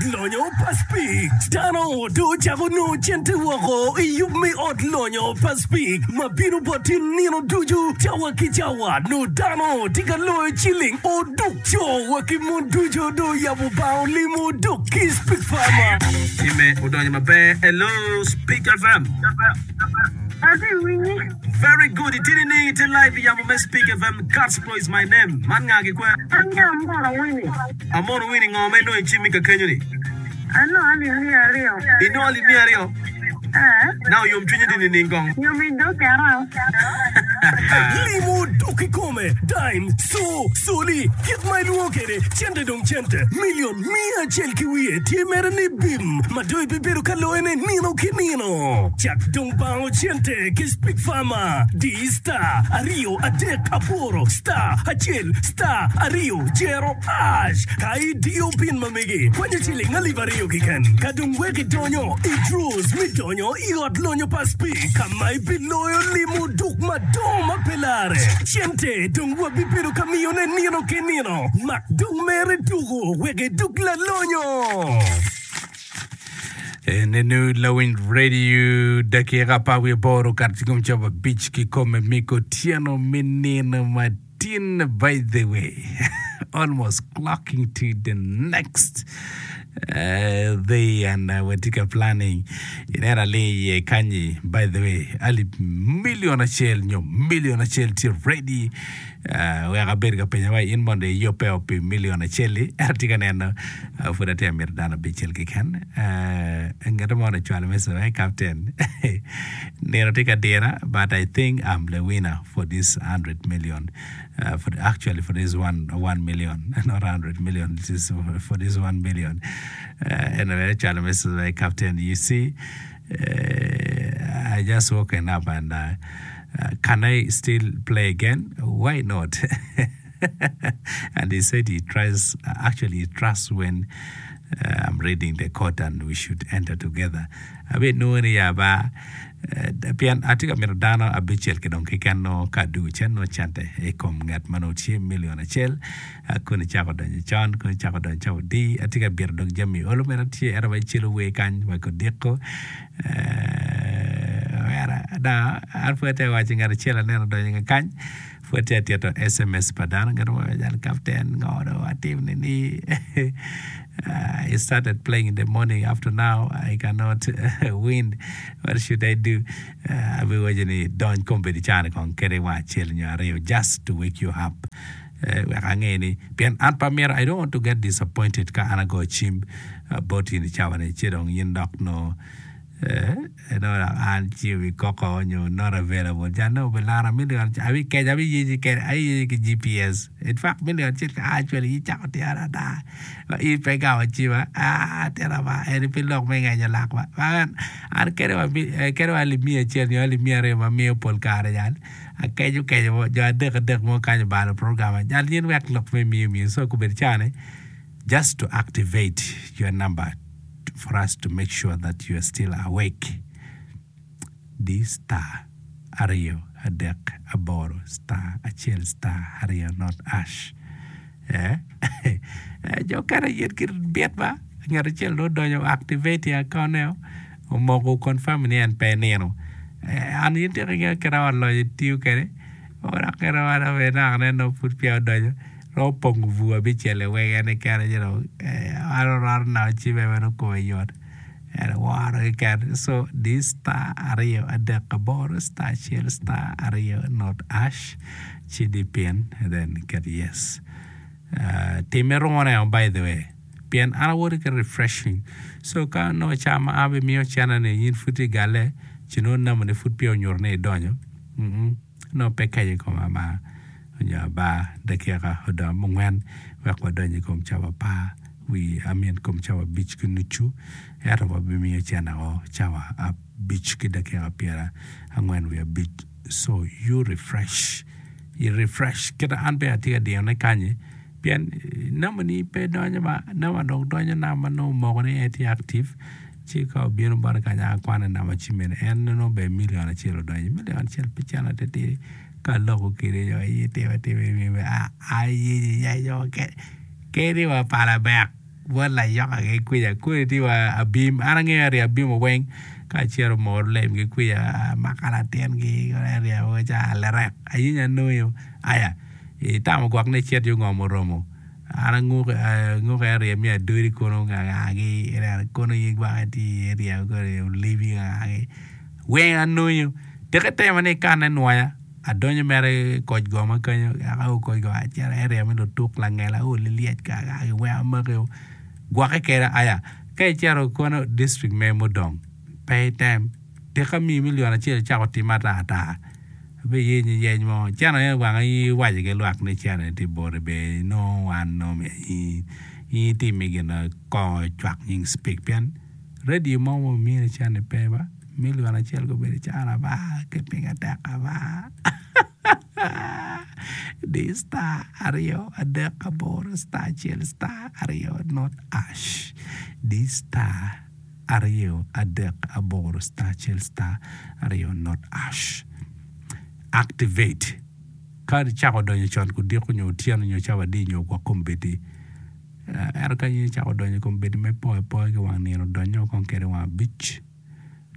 ot lonyo pa Speke. Dano dong ocako nongo cente woko i yub me ot lonyo pa Speke ma bino boti nino ducu cawa ki cawa. Nongo dano tye ka loyo ciling oduk. Co wa ki mon ducu dong oyabo bango limo oduk ki Speke Farmer. Time odonyo maber. Hello Speke FM. Atye winyi. Very good. Itye nining? Itye live i yamo me Speke FM. Gospel is my name. Man nga ki kwe? An nga Amono Winnie. Amono Winnie, ngo ma inongo i cimmi ka kenyo-ni? Anongo alip miya aryo. Inongo alip miya aryo? Ee. Now yomcwinyi tye nining kong? Yom i dog kera. Limo dok kikome, dime, co, coli, kit ma ilwongo kwede, cente dong cente, milion 101 tye mere ni bim ma dong ibibedo ka loyone nino ki nino. Cak dong bango cente ki Speak Farmer, di star aryo adek aboro star acel star aryo jero ash ka idiyo pin ma megi kwanyo ciling 2000 keken ka dong wek idonyo i draws me donyo i ot lonyo pa Speak ka ma ibiloyo limo duk madongo ma pe larre. Cente dong wabibedo ka miyone nino ki nino. Mak dong mere tuko wek idug lalonyo. Nenu lawiny radio dakika 18 okato ci kom cawa abic kikome miko otyeno me nino matin by the way almost clocking to the next uh, day and uh, watye ka planning ineno aling iye kanyi by the way alip million acel nyo million acel tye ready uh, wek abed ka penyo wa in mondo iyubbe o pi million acel-li ento atye ka neno uh, pud atye ka mito dano abicel keken uh, ngat mo ocwalo message ni captain nino tye ka dira but I think I'm the winner for this 100 million uh, for actually for this one, 1 million not 100 million this is for this 1 million uh, anyway ocwalo message ni captain you see uh, I just woken up and uh, uh, can I still play again why not and he said he tries actually he trusts when uh, I'm reading the code and we should enter together abe nongo ni ya ba eh, pien atye ka mito dano abicel ki dong keken nongo ka adugo cen nongo cente i kom ngat ma nongo tye million acel ah, kun icako donyo con kun icako donyo cawa odi atye ka bito dong jami olo meno tye ento wa icelo wer kany wa kodiko eh, omera na an pud atye ka waco ngat acel aneno odonyo ka kany pud atye ka tito sms pa dano ngat mo calo captain ngo dong atim nini I started playing in the morning up to now I cannot win what should I do uh, abiwaco ni dony kombeddi cani kong kede wa acel nyo aryo just to wake you up eh, wek ange ni pien an pe amito I don't want to get disappointed ka an agoyo cim uh, bot in i cawa ni ci dong in dok nongo eh, nongo dok an ci obikoko nyo not available jan nongo obilara million abikeco abiyeci kede abiyeci ki GPS in fact million acel ka actually icako tira ata ma in pe igamo cima ah tira ba eni pe lok me ngenyo lak ba an an kede wa kede wa alip miya acel nyo alip miya aryo ma miyo pol kare jal akeco keco mo jo adek adek mo kany obalo program jal in wek lok me miyo miyo so kobedo cani just to activate your number for us to make sure that you are still awake di star aryo adek aboro star acel star aryo not ash eh jo okene gin gibit ba ngat acel dong odonyo activate i account ne omoko confirm ni en pe enino an in tika ingeyo kit ma ot lonyo tiyo kwede dok kit ma naka nongo pud peya odonyo romo pongo bur abicel-li weng en keken ci dong en oroto naka cimme bene kome yot en woro keken so di star aryo adek aboro star acel star aryo not ash ci di pin then ket yes timme rune o by the way pien an awoto ki refreshing so ka nongo ca ma an abimiyo cene ni in pud itye galle ci nongo namba ni pud peya onyuto ni idonyo Nongo pe keco i kom amar nyo abar dakika odong abongwen wek wadony i kom cawa apar wi I mean kom cawa abic ki nucu ento wabimiyo cene o cawa abic ki dakika pyera angwen wiye abic so you refresh i refresh kit ma an bene atye ka diyone kanyi pien namba ni pe donyo ba namba dong donyo namba nongo omoko ni en tye active Ci ka obino bota kany a akwane namba ci mene en nongo ber million acel odonyo million acel pe cen atitidi ka aloko kede jo aye timo atima a aye yenyo kedi wa pala bek. Bot layoka-gi kwica kodi tye wa abim an angeyo arye abimo weng ka acito moro lemgi kwica amaka latingi aryemo ca lirek ayenyo anongo aya itamo gwok ni icit yo ngom oromo an anguke arye me adodi kunu ngangagi ineno kunu in gwok itye iye iryemo kodi olibi ngangagi weng anongo teke itemo ni ikanne nwoya. Adonyo mere i koc goma kenyo eka koc goma acito aryemo lutuk langela aoli lyec kaka giweko amaki gwokke kede aya ka icito kono district me mudong pe item tika miyi million acel icako time ata ata abiyenyi yeny mo cene aye wang iwaco ki lwak ni cene tye boti bene inongo wan nongo myero in itimi gin kongo cwak nying speak pien radio mo ma omini cene pe ba. Milion acel gubedo calo abar ki piny atek abar. Di star aryo adek aboro star acel star aryo not ash. Di star aryo adek aboro star acel star aryo not ash. Activate. Ka icako donyo con kudiko nyo otyeno nyo cawa adi nyo gwok kombeddi. Ento ka in icako donyo i kom bedo me poyo apoya ki wang nino, donnyo kong kwede wang abic,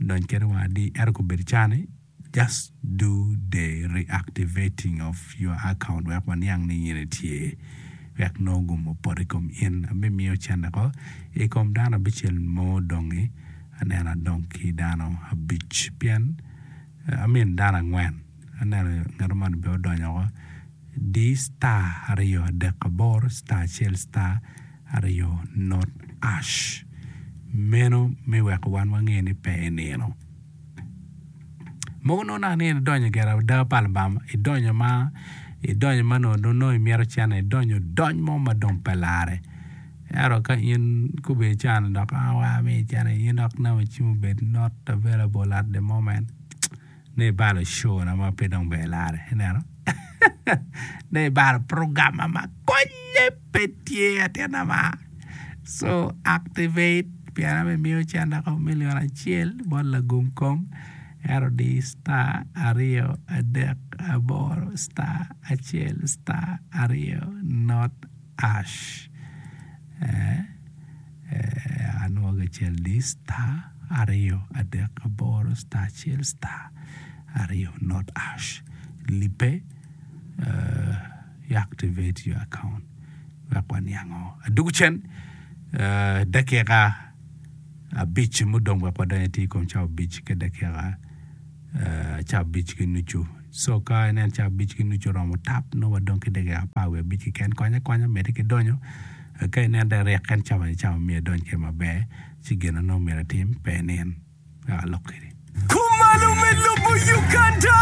dony kwede wang adi, ento kobedo cani, just do the reactivating of your account wek waniang ni in itye, wek nongo gum opot i kom in. Abimiyo cente ko i kom dano abicel mo odongi, aneno adong ki dano abic pien I mean dano angwen, aneno ngat moni bene odonyo woko. Di star aryo adek aboro star acel star aryo not ash. Meno me weko wan wange ni pe inino. Mogo nongo naka ni idonyo gire ada pa Lubanga, idonyo ma idonyo ma nongo nongo imito cene, idonyo dony mo ma dong pe lare. Ento ka in gubedo cani dok a wa mi cene in dok namba cim obed not available at the moment. Nongo ibalo show na ma pe dong ber lare ineno nongo ibalo program ma konye pe tye atina ma so activate pien abimiyo cente ko million acel bot lagum kom ento di star aryo adek aboro star acel star aryo not ash Anwogo acel ni star aryo adek aboro star acel star aryo not ash lipe i activate your account wek waniango adwogo cen dakika abic mudong wek wadony atir i kom cawa abic ki dakika cawa abic ki nucu. So ka inen cawa abic ki nucu oromo tap nongo wadong ki dakika apar wiye abic keken konya akonya medde ki donyo ka inen dong iryek en cawa ni cawa myero idony kwede maber ci gin ma nongo myero itim pe inin wek alok kwedi. Kumalo me lobo Uganda!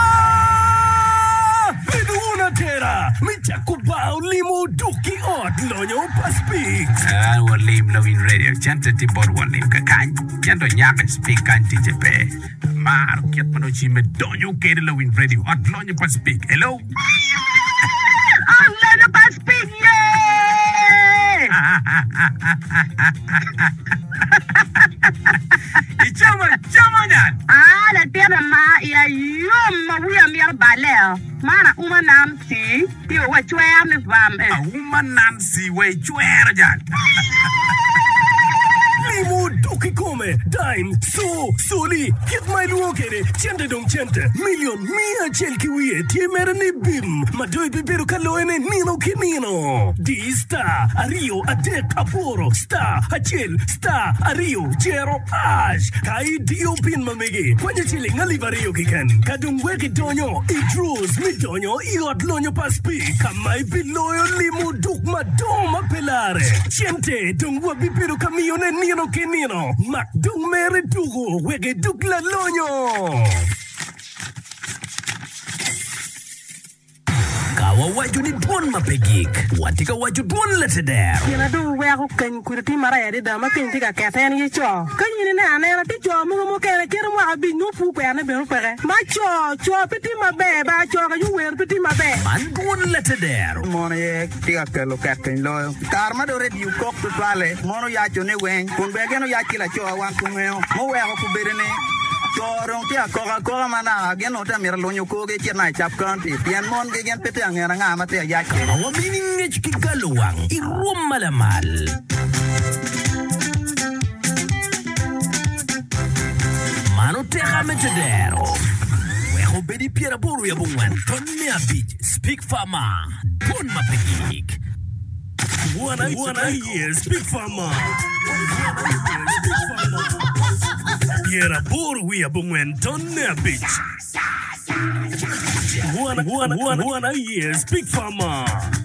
Bedo wun atera me cako bar olimo duk ki ot lonyo pa Speaks. An won lim lawiny radio cente tye bot won lim kakany cente onyako i speak kany ticce pe. Amaro kit ma nongo cimme donyo kede lawiny radio ot lonyo pa Spik. Hello. Ot lonyo pa Spik ye! Icamo acama nyan. Aa latin ama iya yom ma wiya mito balle o. Man auma Nancy tye wa cwer ni vam eh. Auma Nancy wa icwero jal. Limo dok kikome, dime, co, coli, kit ma ilwongo kwede, cente dong cente, milion miya acel ki wiye tye mere ni bim ma dong ibibedo ka loyone nino ki nino. Di star aryo adek aboro star acel star aryo jero ash ka idiyo pin ma megi kwanyo ciling alip aryo keken ka dong wek idonyo i draws me donyo i ot lonyo pa Speke ka ma ibiloyo limo duk madongo ma pe larre. Cente dong wabibedo ka miyone nino ki nino. Mak dong mere tuko wek idug lalonyo. Ka wawaco ni dwon ma pe gik, watye ka waco dwon lateder. Gin a dong weko keny kudi tye marac adada ma keny tye ka kete en aye co. Ka in ineno anena tye co mogo mukene kite mwaka abic nongo pur kwerone bene peke. Ma co, co pe tye maber ba co ka wer pe tye maber. Man dwon lateder. Mon aye tye ka kelo ket piny loyo. I kare ma dong redio kok tutwalle, mon oyaco ni weng, kun bene gin oyac ki laco wan kungeyo, muweko kubedo ni co dong tye ka kok akoka ma naka gin onongo tye ka mito lunyo korgi ecit naka i Cap County pien mon gi gin pe tye ka ngene anga ma tye ka yac kwede. Ma wamini ngec ki galowang i rwom ma lamal. tedero wek obed i 89 ton me abic Speak Farmer dwon ma pe gik. Wan aye Speak Farmer 89 ton me abic Wan aye Speak Farmer.